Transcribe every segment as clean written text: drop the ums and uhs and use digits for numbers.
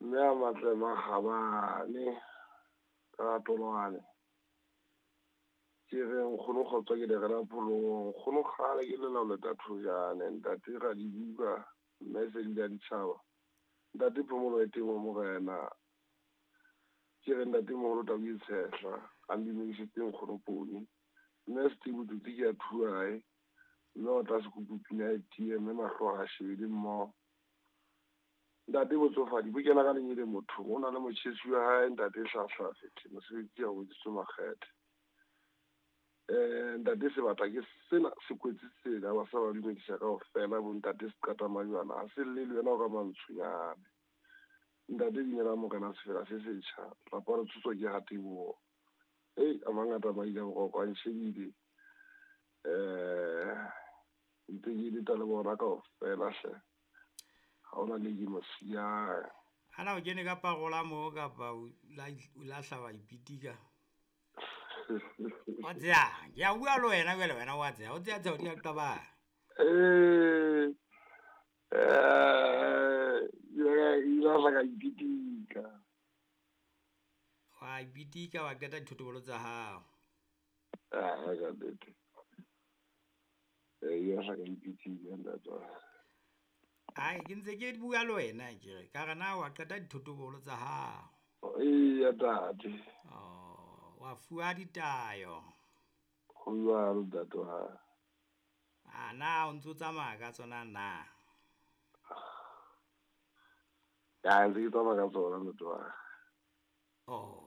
Mme a matle makgabane ka tolwane. Ke re nkgono kgotsa ke le rena pholong, nkgono kgale ke lela ho leta thojane, ntate Radibuka, mme Sedi la ditjhaba. Ntate Phomolo e teng ho morena. Ke re ntate moholo tau e tshehla, a ndumedisitse nkgono Poni. Mme Steve Tsotsi ke a thuae, mme o tla sekupu pina e tiye, mme mahlo a shebile mmoho. Ntate botsofadi bo kena ka lenyele mothong, o na le motjhesi wa hae ntate Hlahla Fethe, mosebetsi ha o etsitswe makgethe. Ntate sebata ke sena se kwetse tsela ba sa ba dumedisa kaofela bo ntate Seqata Majwana, ha se lle le wena o ka mantshonyane. Ntate binela morena sefela se setjha, lapa le tshoswa ke hateboho. Ei, a mangata maile boroko a nshebile. Ntse ke leta le bona kaofela hle. Ha hona le ke mo siyang. Ana o kene ka parola moo kapa o lahla wa ipitika? Wa tseyang? Ke a bua le wena jwale, wena wa tseya. O tseya tseya o di a qabang. Ile ka ipitika. Wa ipitika wa qeta dithotobolo tsa hao. Ah, ka nnete. Ile ka ipitika ntate. Ai, ke ntse ke bua le wena ke re ka re na wa qeta dithotobolo tsa hao. Eya ntate. Oh, wa fuwa ditayo. Ho jwalo ntate wa. A na o ntso tsamaya ka tsona na? Ya ntse ke tsamaya ka tsona ntate wa. Oh.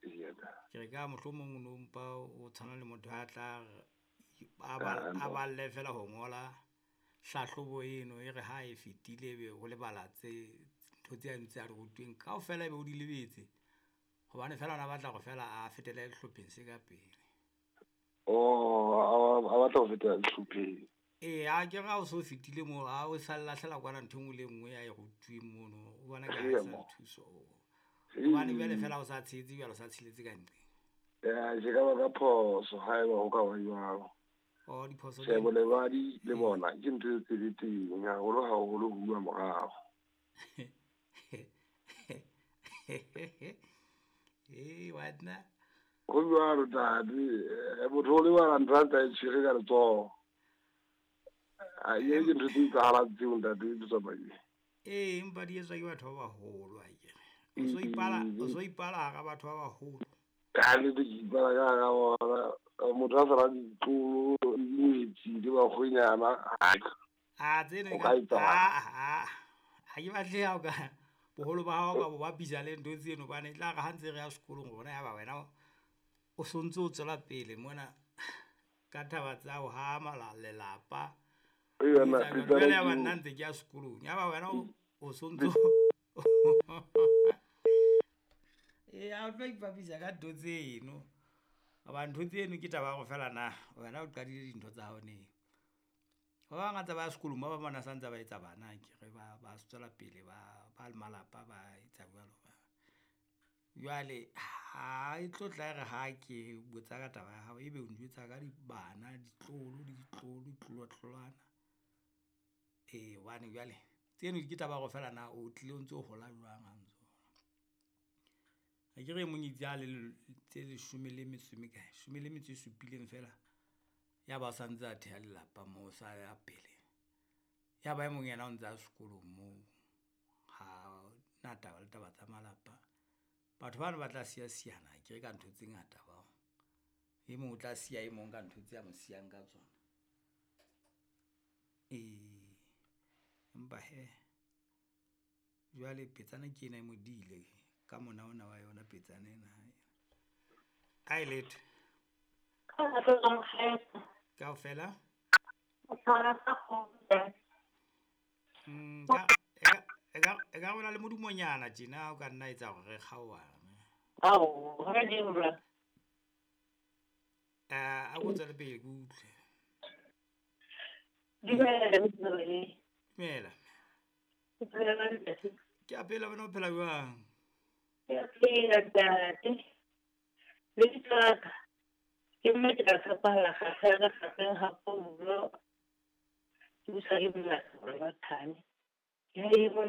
Eya ntate. Ke re ka mohlomong o no mpa o tshwana le motho a tla a balle fela ho ngola hlahlobo eno e re ha e fetile be o lebala tse ntho tse a ntse a di rutweng kaofela ebe o di lebetse. Hobane fela ona batla hore fela a fetele sehlopheng se ka pele. Oh, a batla ho fetela sehlopheng. Ee, a ke re ha o so fetile moo, ha o sa lahlela kwana ntho e nngwe le e nngwe ya e rutuweng mono, o bona ka ha e sa thuso. Hobane jwale fela o sa tshehetse jwale o sa tsheletse ka nqeng. Ya, ke ka ba ka phoso haeba ho ka ba jwalo. Oh, diphoso Tjhe, bolebadi le bona ke ntho e tsweletseng haholo haholo ho bua morao. Ee, wena. Ho jwalo ntate, motho o lebala ntho a ntse a e tshwere ka letsoho. A ye ke ntho tse etsahalang tseo ntate Motsamaisi. Ee, empa di etswa ke batho ba baholo akere. O so ipala hara batho ba baholo. Ka nnete ke ipala ka hara bona. Motho a sa rate ditlolo, dingwetsi le bakgwenyana. A tseno O ka etsahala. Ha ke batle ha o ka boholo ba hao ka bo bapisa le ntho tseno, hobane e tla re ha ntse re ya sekolong rona ya ba wena o sontso o tswela pele mona ka taba tsa ho hama lelapa. Jwale ya ba nna ntse ke ya sekolong, ya ba wena o sontso ee, ha o tlo ipapisa ka ntho tseno. Hoba ntho tseno ke taba ya hore fela na wena o qadile dintho tsa hao neng. Ba bangata ba ya sekolong, ba bang ba na sa ntse ba etsa bana akere, ba tswela pele ba le malapa ba etsa jwalo. Jwale ha e tlo tla re ha ke botsa ka taba ya hao, ebe o njwetsa ka bana, ditlolo le ditlolo, ditlolwatlolwana. Ee, hobane jwale tseno ke taba ya hore fela na o tlile o ntso hola jwang ha ntso. Akere e mong itse ha le tse leshome le metso e mekae, shome le metso e supileng fela, ya ba o sa ntse a theha lelapa moo, sa ya pele. Ya ba e mong yena o ntse a sekolong moo, ha na taba le taba tsa malapa. Batho bano ba tla siya siyana akere ka ntho tse ngata bao. E mong o tla siya e mong ka ntho tse a mo siyang ka tsona. Ee, empa he jwale petsana ke ena e modile ka mona ona wa yona petsana ena. A e letho. Kaofela? E ka rona le modumonyana tjena o ka nna etsa hore re kgaohane. Ao, hona le bra. A ko tswele pele ke utlwe. Dumela, Motsamaisi. Dumela. Ke phela jwang, ntate? Ke a phela, wena o phela jwang? Ke a phela, ntate. Lebitso la ka ke mme ke tla tshepahalla kgahlano kgahlano ha Paulo. Ke busa ke bula ba thane. Ke ha e mona